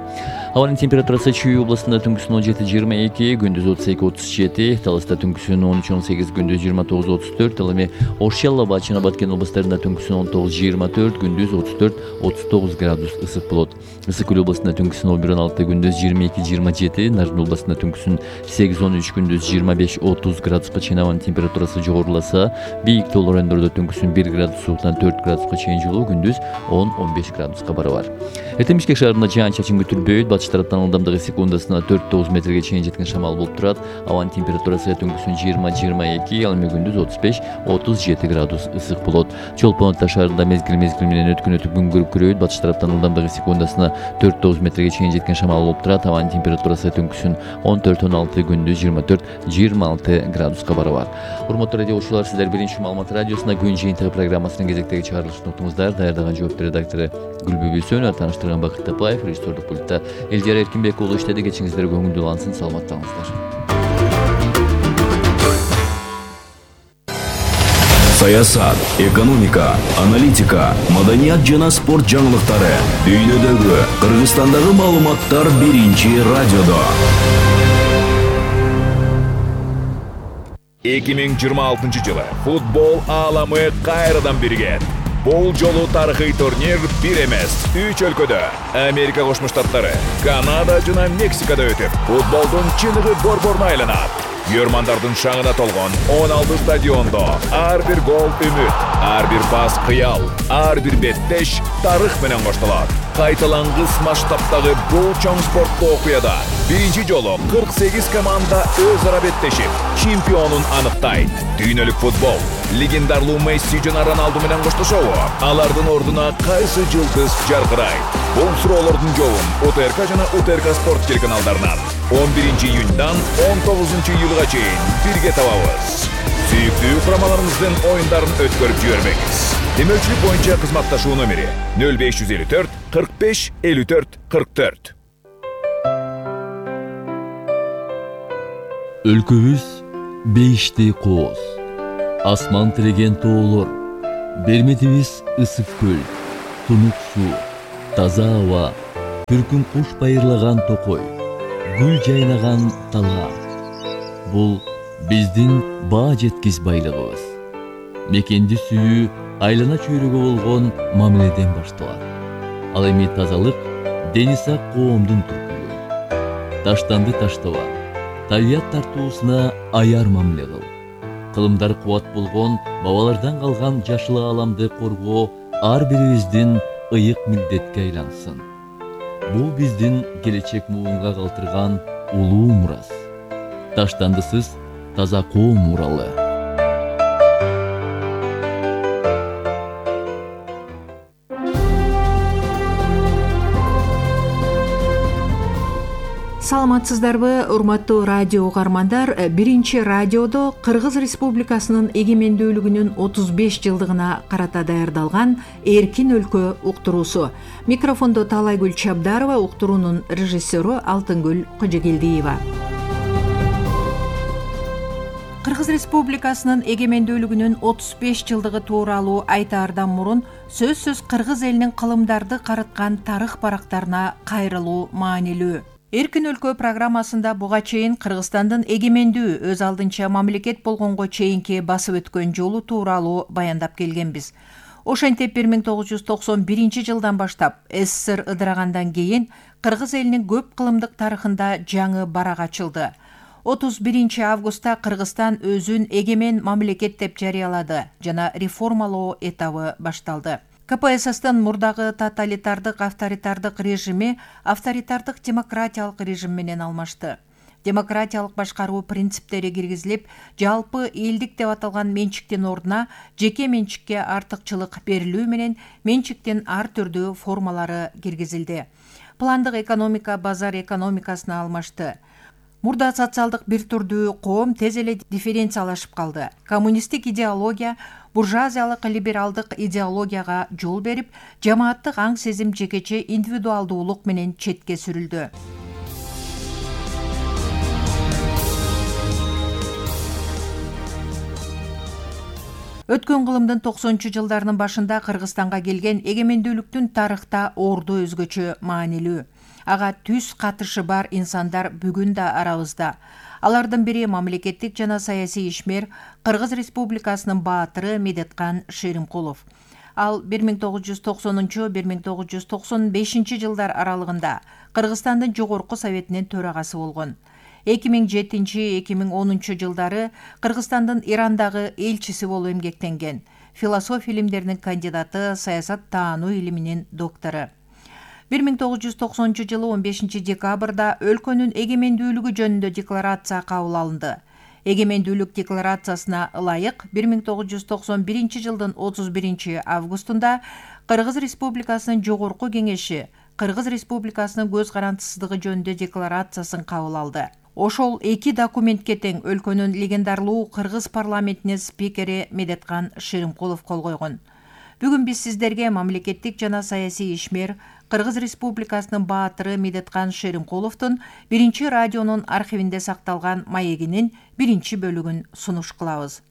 Абанын температурасы Чүй областында түнкүсүн 17-22, күндүз 32-37, Таласта түнкүсүн 13-18, күндүз 29-34, ал эми Ош, Жалал Абад жана Баткен областарында түнкүсүн 19-24, күндүз 34-39 градус ысык болот. Ысык көл областында түнкүсүн 11-16, күндүз 22-27, Нарын областында түнкүсүн 8-13, күндүз 25-30 градуска чейин абанын температурасы жогоруласа, бийик тоолуу райондордо түнкүсүн 1 градус сууктан 4 градуска чейин жылуу, күндүз 10-15 градуска барабар. Эртең Бишкек шаарында жаан-чачын күтүлбөйт. Батыш тараптан ылдамдыгы секундасына 4-9 метрге чейин жеткен шамал болуп турат. Абанын температурасы түнкүсүн 20-22, ал эми күндүз 35-37 градус ысык болот. Чолпон Ата шаарында мезгил менен өткөн күн күркүрөйт. Батыш тараптан ылдамдыгы секундасына 4-9 метрге чейин жеткен шамал болуп турат. Абанын температурасы түнкүсүн 14-16, күндүз 24-26 градуска барабар. Урматтуу радио окуучулар, сиздер Биринчи Маалымат радиосунда күн жыйынтыгы программасынын кезектеги чыгарылышын уктуңуздар. Даярдаган жооптор редактору Гүлбү Бүйсөнова, тааныштырган Бакыт Тапаев, режиссердук пультта Элдияр Эркинбек уулу иштеди. Кечиңиздер көңүлдүү улансын, саламаттаңыздар. Саясат, экономика, аналитика, маданият жана спорт жаңылыктары дүйнөдөгү, Кыргызстандагы маалыматтар Биринчи радиодо. 2026 жылы футбол ааламы кайрадан биригет. Бул жолу тарыхый турнир бир эмес, 3 өлкөдө Америка Кошмо Штаттары, Канада жана Мексикада өтүп, футболдун чыныгы борборуна айланат. Көрмандардын шаңына толгон 16 стадиондо ар бир гол үмүт, ар бир пас кыял, ар бир беттеш тарых менен коштолот. Кайталангыс масштабтагы бул чоң спорттуу окуяда биринчи жолу 48 команда өз ара беттешип, чемпионун аныктайт. Дүйнөлүк футбол легендарлуу Месси жана Роналду менен коштошобу? Алардын ордуна кайсы жылдыз жаркырайт? Бул суроолордун жообун УТРК жана УТРК спорт телеканалдарынан 11 июньдан 19 июлга чейин бирге табабыз. Сүйүктүү курамаларыбыздын оюндарын өткөрүп жибербеңиз. Демөөлчүлүк боюнча кызматташуу номери 0554 45 54 44. Өлкөбүз бейиштей кооз. Асман тиреген тоолор, берметибиз ысык көл, тунук суу, таза аба, түркүн куш байырлаган токой, гүл жайнаган талаа. Бул биздин баа жеткис байлыгыбыз. Мекенди сүйүү айлана чөйрөгө болгон мамиледен башталат. Ал эми тазалык дени сак коомдун түркүлүгү. Таштанды таштаба, табият тартуусуна аяр мамиле кыл. Кылымдар кубат болгон бабалардан калган жашыл ааламды коргоо ар бирибиздин ыйык милдетке айлансын. Бул биздин келечек муунга калтырган улуу мурас. Таштандысыз таза коом уралы. Саламатсыздарбы, урматтуу радио угармандар. Биринчи радиодо Кыргыз Республикасынын эгемендүүлүгүнүн 35 жылдыгына карата даярдалган Эркин өлкө уктуруусу. Микрофондо Таалайгүл Чабдарова, уктуруунун режиссеру Алтынгүл Кожогелдиева. Кыргыз Республикасынын эгемендүүлүгүнүн 35 жылдыгы тууралуу айтаардан мурун сөзсүз кыргыз элинин кылымдарды карыткан тарых барактарына кайрылуу маанилүү. Эркин өлкө программасында буга чейин Кыргызстандын эгемендүү өз алдынча мамлекет болгонго чейинки басып өткөн жолу тууралуу баяндап келгенбиз. Ошентип 1991 жылдан баштап СССР ыдырагандан кийин кыргыз элинин көп кылымдык тарыхында жаңы барак ачылды. 31 августта Кыргызстан өзүн эгемен мамлекет деп жарыялады жана реформалоо этабы башталды. КПССтын мурдагы тоталитардык авторитардык режими авторитардык демократиялык режим менен алмашты. Демократиялык башкаруу принциптери киргизилип, жалпы элдик деп аталган менчиктин ордуна жеке менчикке артыкчылык берилүү менен менчиктин ар түрдүү формалары киргизилди. Пландык экономика базар экономикасына алмашты. Мурда социалдык бир түрдүү коом тез эле дифференциялашып калды. Коммунисттик идеология буржуазиялык либералдык идеологияга жол берип, жамааттык аң сезим жекече индивидуалдуулук менен четке сүрүлдү. Өткөн кылымдын 90-жылдарынын башында Кыргызстанга келген эгемендүүлүктүн тарыхта орду өзгөчө маанилүү. Ага түз катышы бар инсандар бүгүн да арабызда. Алардын бири мамлекеттик жана саясий ишмер Кыргыз Республикасынын баатыры Медеткан Шеримкулов. Ал 1990-1995 жылдар аралыгында Кыргызстандын жогорку советинин төрагасы болгон. 2007-2010 жылдары Кыргызстандын Ирандагы элчиси болуп эмгектенген. Философия илимдеринин кандидаты, саясат таануу илиминин доктору. 1990 жылы 15 декабрда өлкөнүн эгемендүүлүгү жөнүндө декларация кабыл алынды. Эгемендүүлүк декларациясына ылайык 1991 жылдын 31 августунда Кыргыз Республикасынын жогорку кеңеши Кыргыз Республикасынын көз карандысыздыгы жөнүндө декларациясын кабыл алды. Ошол эки документке тең өлкөнүн легендарлуу Кыргыз парламентинин спикери Медеткан Шеримкулов кол койгон. Бүгүн биз сиздерге мамлекеттик жана саясий ишмер Кыргыз Республикасынын баатыры Медеткан Шеримкуловдун биринчи радионун архивинде сакталган маегинин биринчи бөлүгүн сунуш кылабыз.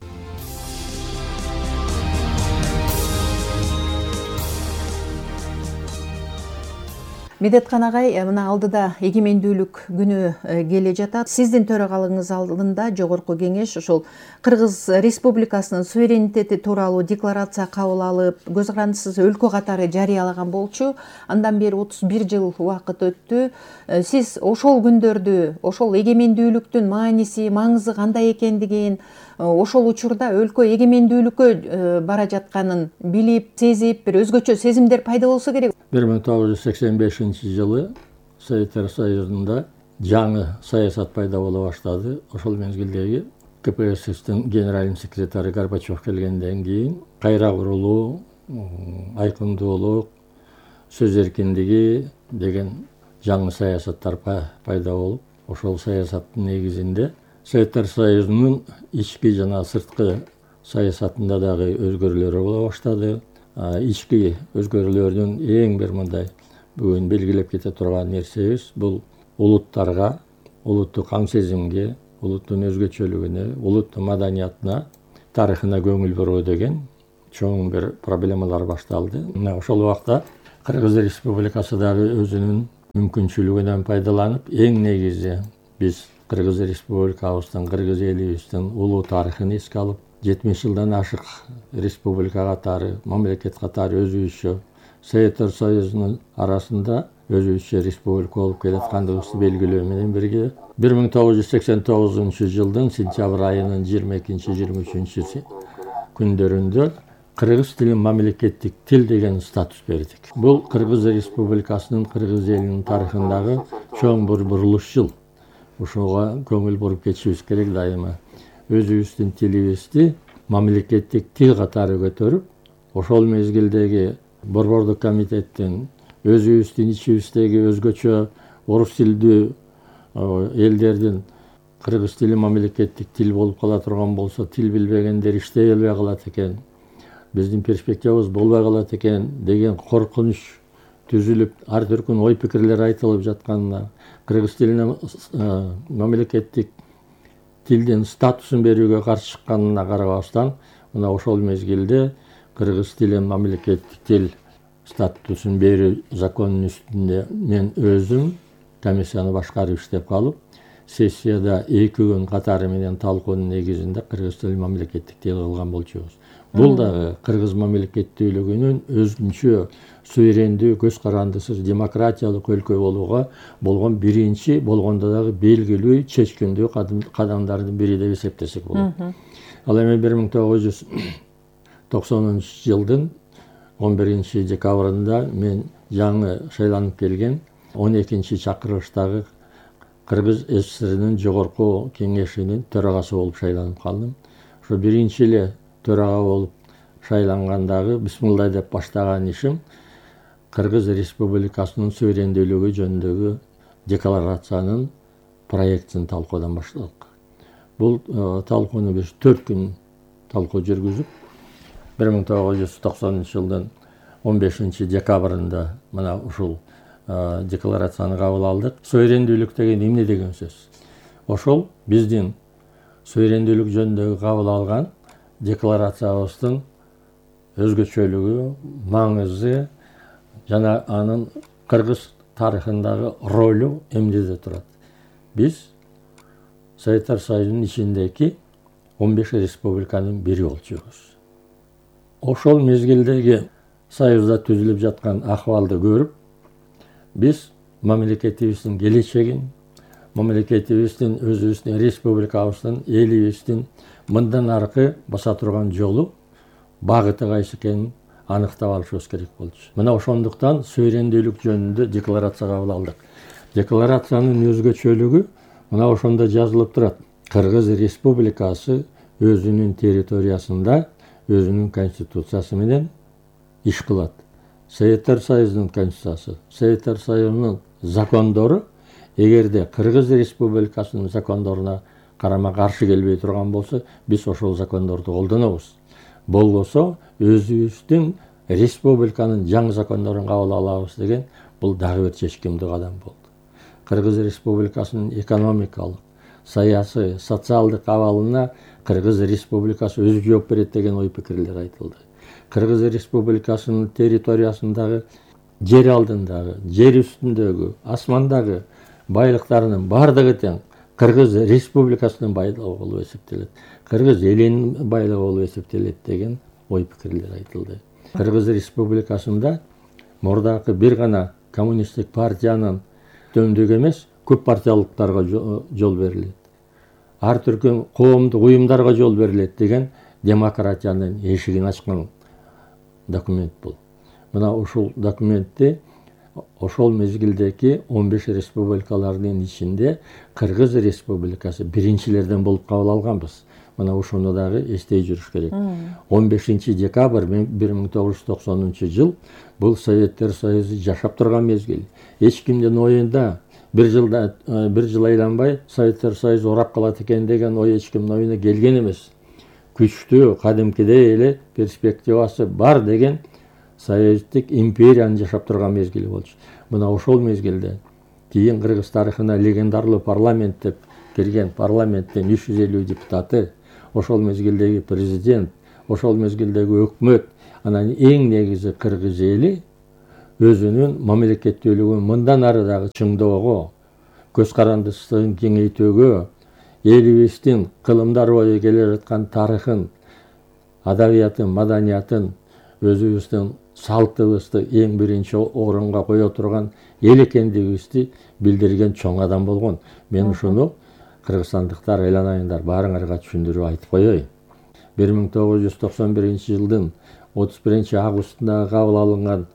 Медеткан агай, мына алдыда эгемендүүлүк күнү келе жатат. Сиздин төрагалыгыңыз алдында Жогорку Кеңеш ошол Кыргыз Республикасынын суверенитети тууралуу декларация кабыл алып, көз карандысыз өлкө катары жарыялаган болчу. Андан бери 31 жыл убакыт өттү. Сиз ошол күндөрдү, ошол эгемендүүлүктүн мааниси, маңызы кандай экендигин, ошол учурда өлкө эгемендүүлүккө бара жатканын билип, сезип, бир өзгөчө сезимдер пайда болсо керек. 1985-жылы Советтер Союзунда жаңы саясат пайда боло баштады. Ошол мезгилдеги КПССтин генеральный секретары Горбачев келгенден кийин кайра курулуу, айкындуулук, сөз эркиндиги деген жаңы саясаттар пайда болуп, ошол саясаттын негизинде Советтер Союзунун ички жана сырткы саясатында дагы өзгөрүүлөр боло баштады. Ички өзгөрүүлөрдүн эң бир мындай бүгүн белгилеп кете турган нерсебиз бул улуттарга, улуттук аң сезимге, улуттун өзгөчөлүгүнө, улуттун маданиятына, тарыхына көңүл буруу деген чоң бир проблемалар башталды. Мына ошол убакта Кыргыз Республикасы дагы өзүнүн мүмкүнчүлүгүнөн пайдаланып, эң негизи биз Кыргыз Республикабыздын, кыргыз элибиздин улуу тарыхын эске алып, 70 жылдан ашык республика катары, мамлекет катары өзүбүзчө Советтер Союзунун арасында өзүбүзчө республика болуп келаткандыгыбызды белгилөө менен бирге 1989 жылдын сентябрь айынын 22-23 күндөрүндө кыргыз тилин мамлекеттик тил деген статус бердик. Бул Кыргыз Республикасынын, кыргыз элинин тарыхындагы чоң бир бурулуш жыл. Ошого көңүл буруп кетишибиз керек дайыма. Өзүбүздүн тилибизди мамлекеттик тил катары көтөрүп, ошол мезгилдеги Борбордук комитеттин өзүбүздүн ичибиздеги өзгөчө орус тилдүү элдердин кыргыз тили мамлекеттик тил болуп кала турган болсо, тил билбегендер иштей албай калат экен, биздин перспективабыз болбой калат экен деген коркунуч түзүлүп, ар түркүн ой пикирлер айтылып жатканына, кыргыз тилине мамлекеттик тилдин статусун берүүгө каршы чыкканына карабастан, мына ошол мезгилде кыргыз тилин мамлекеттик тил статусун берүү законунун үстүндө мен өзүм комиссияны башкарып иштеп калып, сессияда 2 күн катары менен талкуунун негизинде кыргыз тилин мамлекеттик тил кылган болчубуз. Бул дагы кыргыз мамлекеттүүлүгүнүн өзүнчө суверендүү, көз карандысыз демократиялык өлкө болууга болгон биринчи, болгондо дагы белгилүү, чечкиндүү кадамдардын бири деп эсептесек болот. Ал эми 1990 жылдын 11 декабрында мен жаңы шайланып келген 12 чакырылыштагы Кыргыз СССРнин жогорку кеңешинин төрагасы болуп шайланып калдым. Ошо биринчи эле төрага болуп шайлангандагы бисмилла деп баштаган ишим Кыргыз Республикасынын суверендүүлүгү жөнүндөгү декларациянын проектин талкуудан баштадык. Бул талкууну биз 4 күн талкуу жүргүзүп, 1990 жылдын 15 декабрында мына ушул декларацияны кабыл алдык. Суверендүүлүк деген эмне деген сөз? Ошол биздин суверендүүлүк жөнүндөгү кабыл алган декларациябыздын өзгөчөлүгү, маңызы жана анын кыргыз тарыхындагы ролу эмнеде турат? Биз Советтер Союзунун ичиндеги 15 республиканын бири болчубуз. Ошол мезгилдеги Союзда түзүлүп жаткан акыбалды көрүп, биз мамлекетибиздин келечегин, мамлекетибиздин, өзүбүздүн республикабыздын, элибиздин мындан аркы баса турган жолу, багыты кайсы экенин аныктап алышыбыз керек болчу. Мына ошондуктан суверендүүлүк жөнүндө декларация кабыл алдык. Декларациянын өзгөчөлүгү мына ошондо жазылып турат. Кыргыз Республикасы өзүнүн территориясында өзүнүн конституциясы менен иш кылат. Советтер Союзунун конституциясы, Советтер Союзунун закондору эгерде Кыргыз Республикасынын закондоруна карама каршы келбей турган болсо, биз ошол закондорду колдонобуз. Болбосо өзүбүздүн республиканын жаңы закондорун кабыл алабыз деген бул дагы бир чечкиндүү кадам болду. Кыргыз Республикасынын экономикалык, саясий, социалдык абалына Кыргыз Республикасы өзү жооп берет деген ой пикирлер айтылды. Кыргыз Республикасынын территориясындагы жер алдындагы, жер үстүндөгү, асмандагы байлыктарынын баардыгы тең Кыргыз Республикасынын байлыгы болуп эсептелет. Кыргыз элинин байлыгы болуп эсептелет деген ой пикирлер айтылды. Кыргыз Республикасында мурдакы бир гана коммунисттик партиянын төмдүк эмес, көп партиялыктарга жол берилет. Ар түркүн коомдук уюмдарга жол берилет деген демократиянын эшигин ачкан документ бул. Мына ушул документти ошол мезгилдеги 15 республикалардын ичинде Кыргыз Республикасы биринчилерден болуп кабыл алганбыз. Мына ошону дагы эстей жүрүш керек. 15 декабрь 1990 жыл бул Советтер Союзу жашап турган мезгил. Эч кимдин оюнда бир жыл айланбай Советтер Союзу урап калат экен деген ой эч кимдин оюна келген эмес. Күчтүү, кадимкидей эле перспективасы бар деген Союздук империянын жашап турган мезгили болчу. Мына ошол мезгилде кийин Кыргыз тарыхына легендарлуу парламент деп кирген парламенттин 350 депутаты, ошол мезгилдеги президент, ошол мезгилдеги өкмөт, анан эң негизи Кыргыз эли өзүнүн мамлекеттүүлүгүн мындан ары дагы чыңдоого, көз карандысын кеңейтүүгө, элибиздин кылымдар бою келе жаткан тарыхын, адабиятын, маданиятын, өзүбүздүн салтыбызды эң биринчи орунга кое турган эл экендигибизди билдирген чоң адам болгон. Мен ушуну кыргызстандыктар айланайындар, баарыңарга түшүндүрүп айтып коеюн. 1991 жылдын 31 августунда кабыл алынган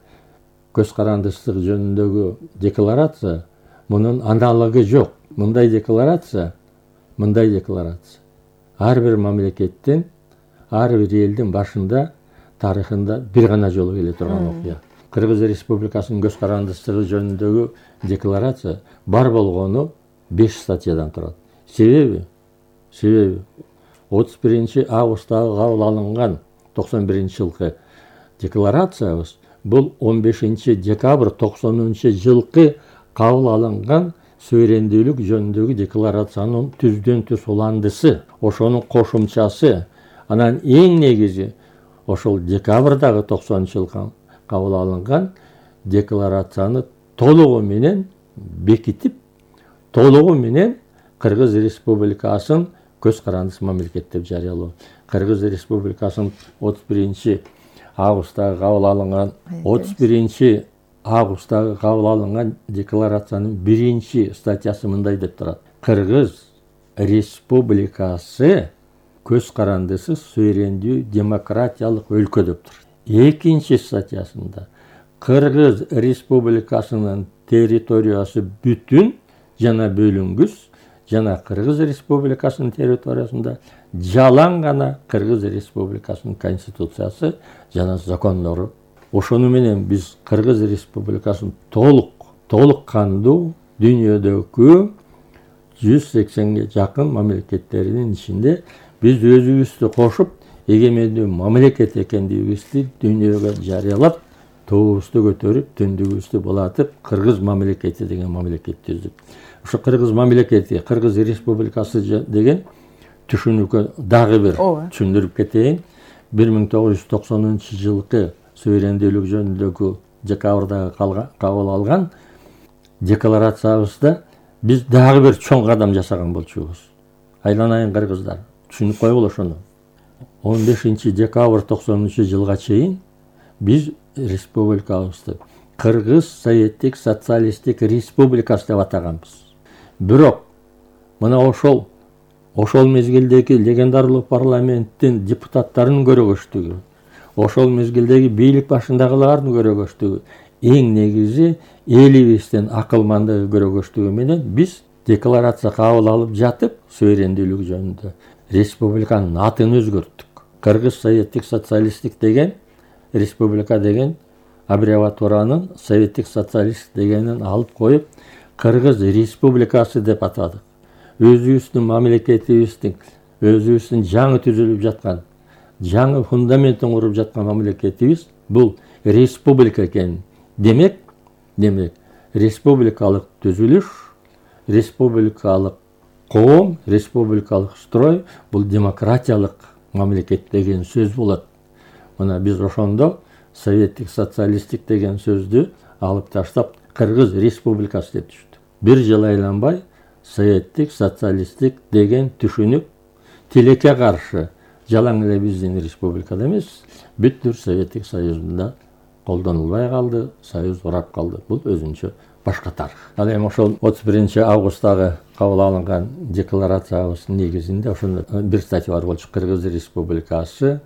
көз карандысыздык жөнүндөгү декларация мунун аналогу жок. Мындай декларация ар бир мамлекеттин, ар бир элдин башында тарыхында бир гана жолу келе турган окуя. Кыргыз Республикасынын көз карандысыздыгы жөнүндөгү декларация бар болгону 5 статьядан турат. Себеби 31 августтагы кабыл алынган 91 жылкы декларациябыз бул 15 декабрь 90 жылкы кабыл алынган суверендүүлүк жөнүндөгү декларациянын түздөн түз уландысы, ошонун кошумчасы. Анан эң негизи ошол декабрдагы 90 жылкы кабыл алынган декларацияны толугу менен бекитип, толугу менен Кыргыз Республикасын көз карандысыз мамлекет деп жарыялоо. Кыргыз Республикасынын 31 августтагы кабыл алынган декларациянын 1 статьясы мындай деп турат. Кыргыз Республикасы көз карандысыз суверендүү демократиялык өлкө деп турат. 2 статьясында Кыргыз Республикасынын территориясы бүтүн жана бөлүнгүс, жана Кыргыз Республикасынын территориясында жалаң гана Кыргыз Республикасынын конституциясы жана закондору. Ошону менен биз Кыргыз Республикасын толук кандуу дүйнөдөгү 180ге жакын мамлекеттеринин ичинде биз өзүбүздү кошуп, эгемендүү мамлекет экендигибизди дүйнөгө жарыялап, туубузду көтөрүп, түндүгүбүздү булатып, Кыргыз мамлекети деген мамлекет түздүк. Ошо Кыргыз мамлекети, Кыргыз Республикасы деген түшүнүүгө дагы бир түшүндүрүп кетейин. 1990 жылкы суверендүүлүк жөнүндөгү декабрдагы кабыл алган декларациябызда биз дагы бир чоң кадам жасаган болчубуз. Айланайын кыргыздар, түшүнүп койгула ошону. 15 декабрь 90 жылга чейин биз республикабызды Кыргыз Советтик Социалисттик Республикасы деп атаганбыз. Бирок мына ошол мезгилдеги легендарлуу парламенттин депутаттарынын көрөгөчтүгү, ошол мезгилдеги бийлик башындагылардын көрөгөчтүгү, эң негизи элибиздин акылмандыгы көрөгөчтүгү менен биз декларация кабыл алып жатып, суверендүүлүк жөнүндө республиканын атын өзгөрттүк. Кыргыз Советтик Социалисттик деген республика деген аббревиатуранын Советтик Социалист дегенин алып коюп, Кыргыз Республикасы деп атадык. Өзүбүздүн мамлекетибиздин, өзүбүздүн жаңы түзүлүп жаткан, жаңы фундаментин куруп жаткан мамлекетибиз бул республика экен. Демек, республикалык түзүлүш, республикалык коом, республикалык строй бул демократиялык мамлекет деген сөз болот. Мына биз ошондо Советтик Социалисттик деген сөздү алып таштап Кыргыз Республикасы деп түштү. Бир жыл айланбай советтик, социалисттик деген түшүнүк тилекке каршы жалаң эле биздин республикада эмес, бүткүл Советтик Союзунда колдонулбай калды, союз курап калды. Бул өзүнчө башка тарых. Ал эми ошол 31 августтагы кабыл алынган декларациябыздын негизинде ошондо бир статья бар болчу. Кыргыз Республикасы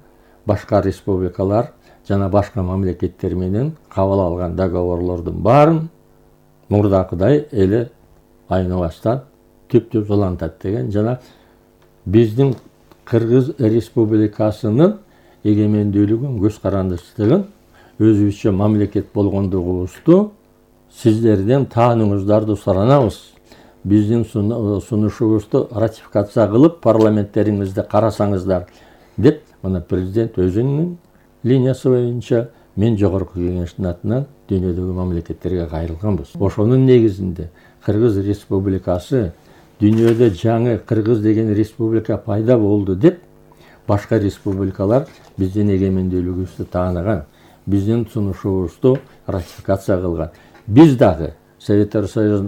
башка республикалар жана башка мамлекеттер менен кабыл алган договорлордун баарын мурдакыдай эле айныбастан түптүп улантат деген жана биздин Кыргыз Республикасынын эгемендүүлүгүн, көз карандычтыгын, өзүбүзчө мамлекет болгондугубузду сиздерден таанууңуздарды суранабыз. Биздин сунушубузду ратификация кылып парламенттериңизде карасаңыздар деп, мына президент өзүнүн линиясы боюнча мен жогорку кеңештин атынан дүйнөдөгү мамлекеттерге кайрылганбыз. Ошонун негизинде Кыргыз Республикасы дүйнөдө жаңы Кыргыз деген республика пайда болду деп башка республикалар биздин эгемендүүлүгүбүздү тааныган, биздин сунушубузду ратификация кылган. Биз дагы Советтер Союзунун